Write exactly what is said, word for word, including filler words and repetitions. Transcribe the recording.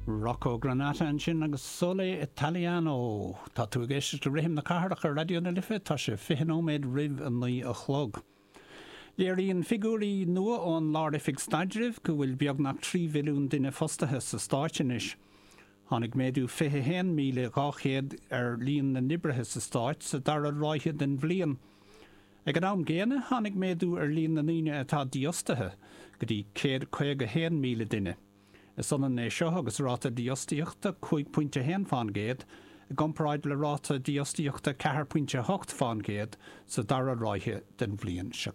Rocco Granata ansin agus Sole Italiano. Tá tú ag éisteacht le Rithim na Cathrach ar Raidió na Life tá sé fiche nóiméad roimh a naoi a chlog. Léiríonn figiúirí nua ón Lár-Oifig Staidrimh go bhfuil beagnach trí mhilliún duine fostaithe sa stát anois. Tháinig méadú fiche haon míle dhá chéad ar líon na n-oibrithe sa stát sa dara ráithe den bhliain. Ag an am gcéanna tháinig méadú ar líon na ndaoine atá dífhostaithe go dtí céad caoga haon míle duine. Is ionann é seo agus ráta dífhostaíochta cúig pointe haon faoin gcéad, i gcomparáid le ráta dífhostaíochta ceathair pointe hocht faoin gcéad sa dara ráithe den bhliain seo.